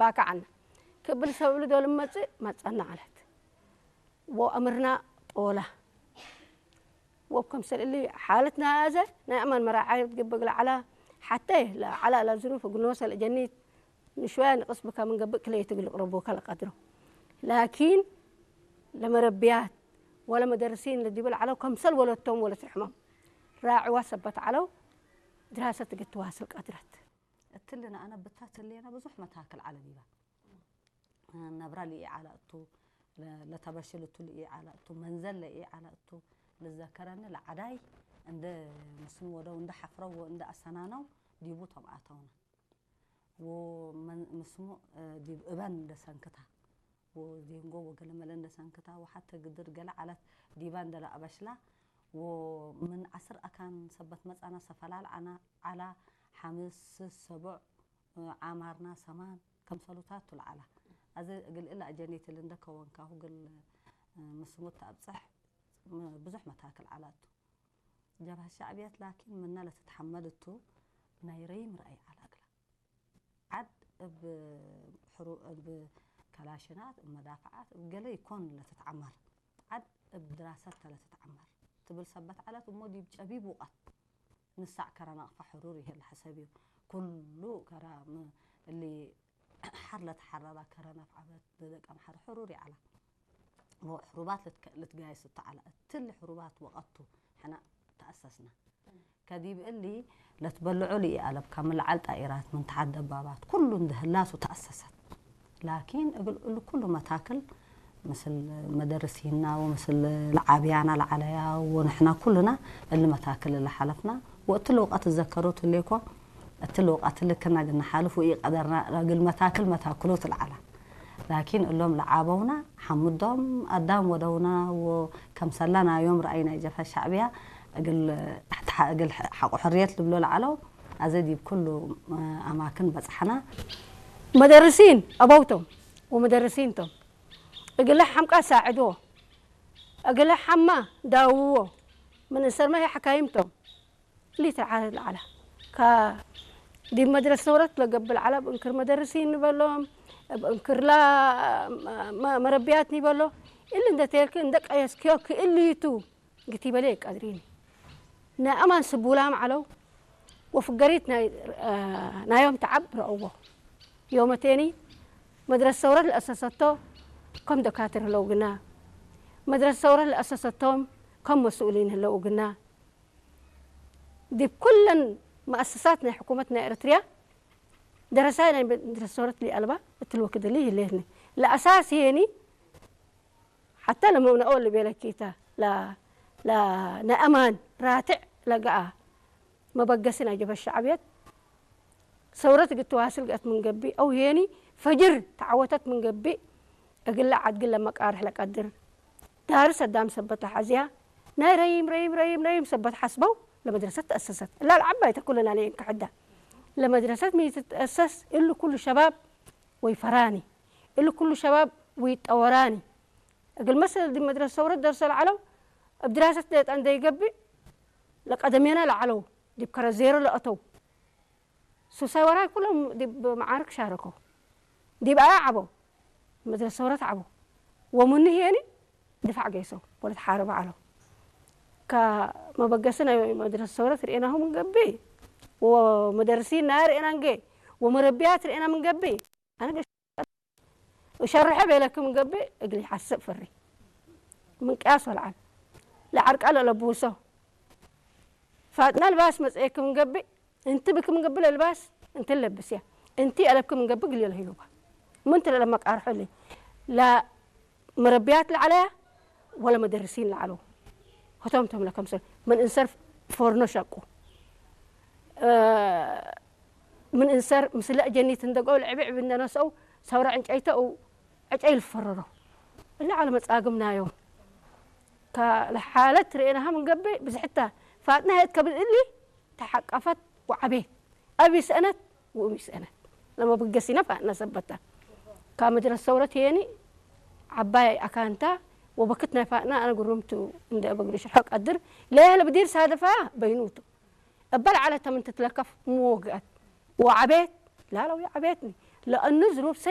ባካዓና ክብል ሰብሉ ዶ ልመጽእ መጸና ዓለት ወኣምርና ጦላ ወብ ከምሰል እሊ ሓለትና ያዘ ናይ ኣማን መራዓይ ትግብግ ለዓላ ሓተ ለዓላ ለዝሩፍ እግኖ ሰልእጀኒት ንሽወያ ንቅስ ብካ ምንገብእ ክለይ ትግል ቅረቦ ካልቀድሮ ላኪን ለመረብያት ወለ መደርሲን ለዲብል ዓለው ከምሰል ወለቶም ወለ ትርሕሞም ራዕዋ ሰበት ዓለው ድራሰት ትግትዋስል ቀድረት። እትልና ኣነ ብታ ትሌና ብዙሕ መታክል ዓለ ዲባ ነብራ ልኢ ዓላ እቱ ለተበሽል እቱ ልኢ ዓላ እቱ መንዘል ለኢ ዓላ እቱ ልዘከረኒ ለዓዳይ እንደ ምስኑ ወደው እንደ ሓፍረው እንደ ኣሰናነው ዲቡ ቶም ኣተውና ወመን- ምስሙ እ፣ ዲብ እበን እንደ ሰንክታ ወዜንጎ ወገለመለ እንደ ሰንክታ ወሓተ ግድር ገለ ዓለት ዲባ እንደ ለኣበሽላ ወምን ዓስር ኣካን ሰበት መጻና ሰፈላል ዓና ዓላ ሓምስ ሰቡዕ ዓማርና ሰማን ከምሰሉታት ቱልዓላ ኣዘ እግል እላ ኣጀኔትል እንደ ከወንካሁ ግል ምስሙት ተኣብጽሕ ብዙሕ መታክል ዓላቱ ጀብሃ ሻዕብያት ላኪን ምና ለትትሓመል እቱ ናይ ረይም ረኣይ ዓላ እግላ ዓድ እብ ሕሩ እብ ከላሽናት እብ መዳፍዓት እብ ገለ ይኮን ለትትዓመር ዓድ እብ ድራሰት ተለትትዓመር ትብል ሰበት ዓለት እሞ ዲብ ጨቢብ ውቀት ንሳዕ ከረ ናቕፋ ሕሩር ይህል ሐሰብ እዩ። ኩሉ ከረ እሊ ሓር ለተሓረራ ከረ ነፍዓበት ለደቀ ምሓር ሕሩር ይዓላ። ሕሩባት ልትጋየስ እተዓላ እትሊ ሕሩባት ወቐቱ ሕና ተኣሰስና። ከዲብ እሊ ለትበልዖ ልኢኣለብካ ምልዓል ጣኢራት ምን ተሓት ደባባት ኩሉ እንድህላሱ ተኣሰሰት። ላኪን እግል እሉ ኩሉ መታክል ምስል መደርሲና ወምስል ለዓብያና ለዓለያ ወንሕና ኩሉና እሊ መታክል ለሓለፍና ወእትሊ ውቀት እዘከሮ ትሌኮ እትሊ ውቀት ልክና ግና ሓልፍ ወኢቀደርና እግል መታክል መታክሎ ትልዓላ ላኪን እሎም ለዓበውና ሓምዶም ኣዳም ወደውና ወከምሰላ ናዮም ረኣይ ናይ ጀብሀ ሻዕብያ እግል ሓቆ ሕርየት ልብሎ ለዓለው ኣዘ ዲብ ኩሉ ኣማክን በጽሓና። መደርሲን ኣበውቶም ወመደርሲን ቶም እግለ ሓምቃ ሳዕድዎ እግለ ሓማ ዳውዎ ምን እንሰርመ ሕካይም ቶም ሊትር ዓለ ለዓላ ካ ዲብ መድረስ ነውረት ለገብእ ለዓላ እብ እንክር መደርሲን ንበሎም እብ እንክርላ መረብያት ኒበሎ እሊ እንደ ቴልክ እንደ ቀየስክዮ ክእልይቱ ግቲበሌ ቀድሪኒ ናይ ኣማን ስቡላም ዓለው ወፍገሪት ናዮም ተዓብ ረእዎ ዮመቴኒ መድረስ ሰውረት ለአሰሰቶ ከም ደካትር ህለው ግና መድረስ ሰውረት ለአሰሰቶም ከም መስኡሊን ህለው ግና ዲብ ኩለን መአሰሳት ናይ ሕኩመት ናይ ኤረትርያ ደረሳይ ናይ መድረስ ሰውረት ሊአልባ እትልወክድሊ ይህሌትኒ ለአሳስ ሄኒ ሓታ ለመውነኦ ልቤለኪ እታ ለአማን ራትዕ ለገኣ መበገሲ ናይ ጀበ ሸዕብየት ሰውረት እግል ተዋስል ገአት ምን ገብእ አው ሄኒ ፈጅር ተዓወተት ምን ገብእ እግለ ዓድግን ለመቃርሕ ለቀድር ዳር ሰዳም ሰበት ለሐዝያ ናይ ረይም ረይም ረይም ረይም ሰበት ሐስበው ለመድረሰት ተአሰሰት እላ ለዓባይ ተኩለና ለየንክሕዳ ለመድረሰት ሚ ትትአሰስ እሉ ኩሉ ሸባብ ወይፈራኒ እሉ ኩሉ ሸባብ ወይጠወራኒ እግል መሰል ዲ መድረሰ ሰውረት ደርሰ ለዓለው እብ ድራሰት ደጣ እንደይገብእ ለቀደሜና ለዓለው ዲብ ከረ ዜሮ ለአተው ሱሳይ ወራይ ኩሎም ዲብ መዓርክ ሻረከው ዲብ ኣያ ዓበው መድረሰ ሰውረት ዓበው ወምኑ ህየኒ ድፋዕ ገይሰው ወለት ሓረብ ዓለው ከመበገሲ ናይ መድረሰ ሰውረት ርኤናሁ ምን ገብእ ወመደርሲን ናይ ርኤና እንጌ ወመረቢያት ርኤና ምን ገብእ ኣነ እሸርሐ ቤለክም ገብእ እግል ይሓስእ ፍሪ ምንቅያስ ወልዓል ለዓርቃ ለለብውሶ ፋጥና ልባስ መጽኤክም ገብእ እንቲ ብክም ገብእ ለልባስ እንቲ ለብስያ እንቲ ኣለብክም ገብእ ግል የለህዩባ ምንቲ ለለመቃርሖ ሊ ለመረብያት ለዓለያ ወለ መደርሲን ለዓለው ህቶም ቶም ለከምሰል ምን እንሰር ፎርኖ ሸቁ ምን እንሰር ምስለ ጀኒት እንደገው ለዕብዕብ እንደነሰው ሰውረ ዕንጨይተው ዕጨይ ልፈረሮ እለ ዓለ መጻግም ናዮም ከለሓለት ርኤናሃ ምንገብእ ብዝሕታ ፋጥና ህየት ከብል እሊ ተሓቀፈት ወዓቤት ኣብ ይስአነት ውእም ይስአነት ለመብገሲና ፋጥና ሰበታ ካብ መድረስ ሰውረት የኒ ዓባይ ኣካንታ ወበክት ናይ ፋጥና ኣነ ጉሩምቱ እንደ በግሪ ሽርሖ ቀድር ለየህለ ብዲር ሳደፋ በይኑቱ እበል ዓለተ ምን ትትለከፍ ምወግአት ወዓቤት ላለው የዓቤትኒ لأنه ظروف سيئة